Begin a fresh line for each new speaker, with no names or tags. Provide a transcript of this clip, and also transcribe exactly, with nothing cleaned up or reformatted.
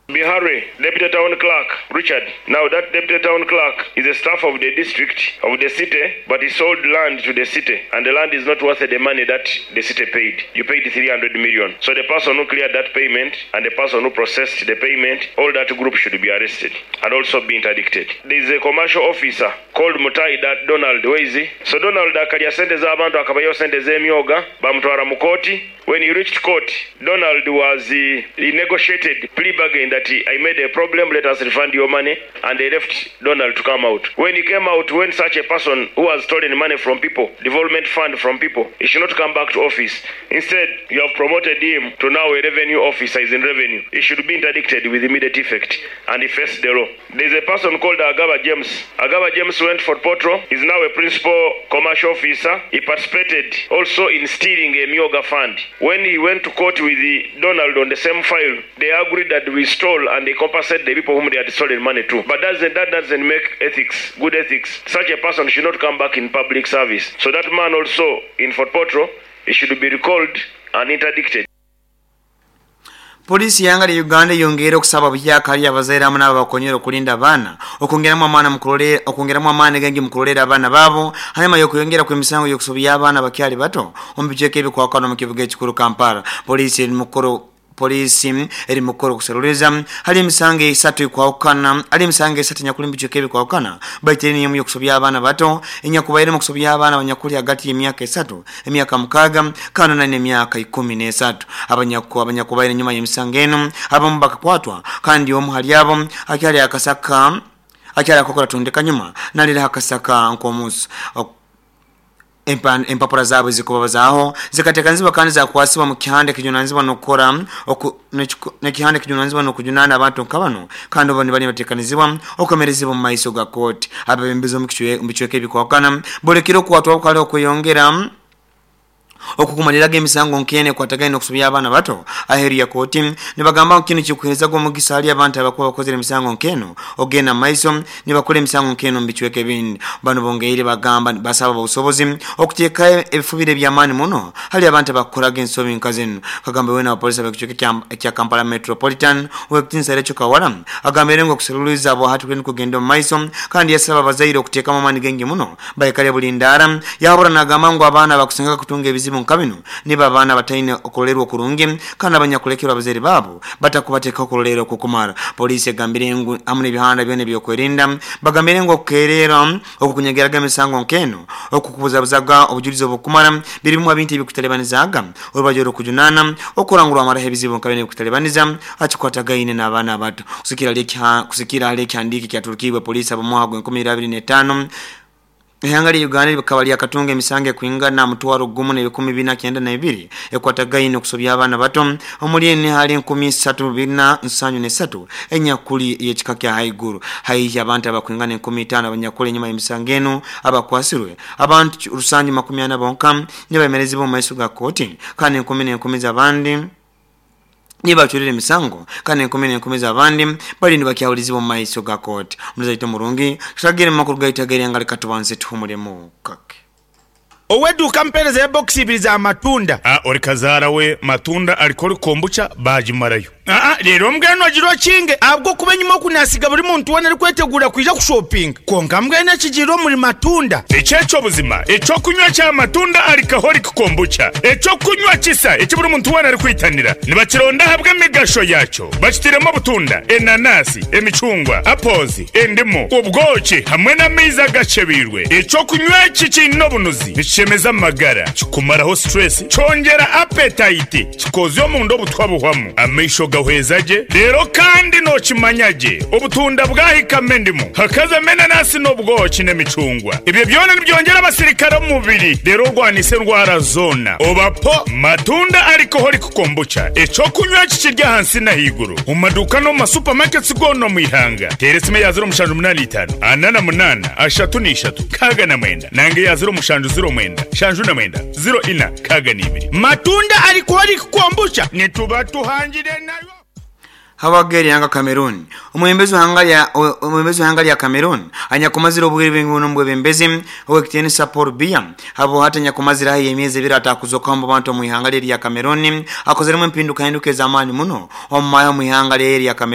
Bihare, Deputy Town Clerk, Richard. Now that Deputy Town Clerk is a staff of the district, of the city, but he sold land to the city, and the land is not worth the money that the city paid. You paid three hundred million. So the person who cleared that payment and the person who processed the payment, all that group should be arrested and also be interdicted. There is a commercial officer called Mutai that Donald, where is he? So Donald akalya sente z'abantu akabayo sente z'emyoga, bamutwara mu kooti. When he reached court, Donald was, uh, he negotiated plea bargain that he, I made a problem, let us refund your money, and they left Donald to come out. When he came out, when such a person who has stolen money from people, development fund from people, he should not come back to office. Instead, you have promoted him to now a revenue officer, is in revenue. He should be interdicted with immediate effect, and he faced the law. There's a person called Agaba James. Agaba James went for Potro. He's now a principal commercial officer. He participated also in stealing a Myoga fund. When he went to court with the Donald on the same file, they agreed that we stole and they compensate the people whom they had stolen money to. But doesn't, that doesn't make ethics, good ethics. Such a person should not come back in public service. So that man also in Fort Potro, he should be recalled and interdicted.
Polisi yanga ya Uganda yongera okusaba buhyaka ali abazaire hamwe n'abakonyera okulinda abaana okwongeramu amaani mu kulolera okwongeramu amaani gengi mu kulolera abaana baabo hanyuma y'okuyongera kw'emisango y'okusobya abaana bakyali bato omu bicweka ebikwakana mu kibuga ekikuru Kampala. Polisi eri mu kukora polisi eri mu kukora okuseruliriza hali emisango esatu ekwawukana hali emisango esatu enyakuli mu bicweka ebikwawukana baitu eri niyo y'okusobya abaana bato enyakubaire mu kusobya abaana abanyakuli hagati y'emyaka esatu emyaka mukaaga kandi nane emyaka ikumi n'esatu abanyaku abanyakubaire enyuma y'emisango eno abamu bakakwatwa kandi omu hali abo akyali akasaka akyali akakora tundeka nyuma nalira akasaka nk'omusu empapura zaabwe zikubabazaaho zikateekanizibwa kandi zakwasibwa mu kihande kijunanizibwa n'okukora n'ekihande kijunanizibwa n'okujunaana abantu nka bano kandi bo nibali bateekanizibwa okwemerezibwa mu maiso ga kooti. Abebembezi omu bicweka ebikwawukana bolekire okukwatwa obukale okweyongera okukumaliraga emisango nkene ekwatagaine n'okusobya abaana bato aheeru ya kooti nibagamba ngu kinu kikuheerezaga omugisa hali abantu abakuba bakozere emisango nkeno ogenda mu maiso nibakora emisango nkeno mu bicweka ebindi. Bano bongeire bagamba basaba obusobozi okuteeka ebifubiro eby'amaani muno hali abantu abakukoraga ensobi nka zino. Kagambe wena abapolisi ab'ekicweka ekya Kampala Metropolitan ow'ekitiinisa Rachel Kawala agambire ngu okuseruliza abo hati kuli kugenda omu maiso kandi yasaba abazaire okuteekamu amaani gengi muno baikale buli ndaara. Yahabura n'agamba ngu abaana bakusingaga kutunga ebizibu nka bino niba abaana bataine okurolerwa okurungi kandi abanyakulekerwa abazaire baabo batakubateeka okurolerwa okukumara. Poliisi egambire ngu hamu n'ebihanda byona ebyokwerinda bagambire ngu okukeerera okukunyegeraga emisango nk'eno okukubuzabuzaga obujulizi obukumara biri bimu bintu ebikutalibanizaga orubaju orw'okujunaana okurangurwa amaraho ebizibu nka bino ebikutalibaniza akikwatagaine n'abaana abato. Kusikira hali ekihandiiko ekyaturukibwe poliisi ab'omwaka gw'enkumi ibiri abiri n'etaano ihanga lya Uganda likaba lyakatunga emisango ekwingana mutwaro gumu n'ebikumi bina kyenda na ibiri ekwatagaine okusobya abaana bato omuli ene hali enkumi isatu bina nsanju n'esatu enyakuli y'ekika kya haiguru haihi abantu abakwingana enkumi itaano abanyakuli enyuma y'emisango eno abakwasirwe abantu rusanju makumi ana bonka nibayemerezibwa omu maiso ga kooti kandi enkumi n'enkumi z'abandi nibachurire emisango kandi enkumi n'enkumi z'abandi bali nibakyawulizibwa omu maiso ga kooti. Omuzaito murungi tutagire mu makuru gaitu ag'eryanga likatubanze tuhumulemu kake.
Oweduka mpereza ya box ibiri za matunda.
Ah, ori kazaara we matunda alikori kombucha bajimarayo.
Ah, rero mbwenu agirwa kinge abwo kuba enyuma okunasiga buri muntu wena ari kwetegura kwija kushopinga konka mbwenu ekigirwa muri matunda.
Ekyekyo buzima ekyokunywa kya matunda alikahori kombucha ekyokunywa kisa eki buri muntu wena ari kwitanira nibakironda ahabwa emigasho yakyo bakitiremo obutunda enanasi emicungwa apozi endimu ubwoki hamwe n'amaizi agacebirwe. Ekyokunywa eki kiine obunuzi nikishemeza amagara kikumaraho stress kyongera appetite kikozya omunda obutwa buhwamu amaisho gahweza gye rero kandi nokimanya gye obutunda bwahikamo endimu hakazamo enanasi n'obwoki n'emicungwa ebyo byona nibyongera abasirikare omu mubiri rero orwanisa endwara zoona obapo matunda alcoholic kombucha ekyokunywa kikirya ahansi n'ahaiguru omu maduuka n'omu masupamaketi goona omu ihanga. Teera esimu eya ziro mushanju munaana itaano ana na munaana ashatu n'ishatu nkaaga na mwenda nange eya ziro mushanju ziro mwenda shanju na mwenda ziro ina nkaaga n'ibiri.
Matunda alcoholic kombucha nituba tuhangire nayo.
Hawageri yanga Cameroon omwembezi hanga lya omwembezi hanga lya Cameroon anyakumazira obwire bw'engono mbwebembezi owekitiinisa Paul Biya abo hata nyakumazira hayi emyezi ebiri atakuzoka mu bantu mu ihanga lya Cameroon akozeremu empinduka hinduka ez'amaani muno omu mayo mu ihanga lya Cameroon.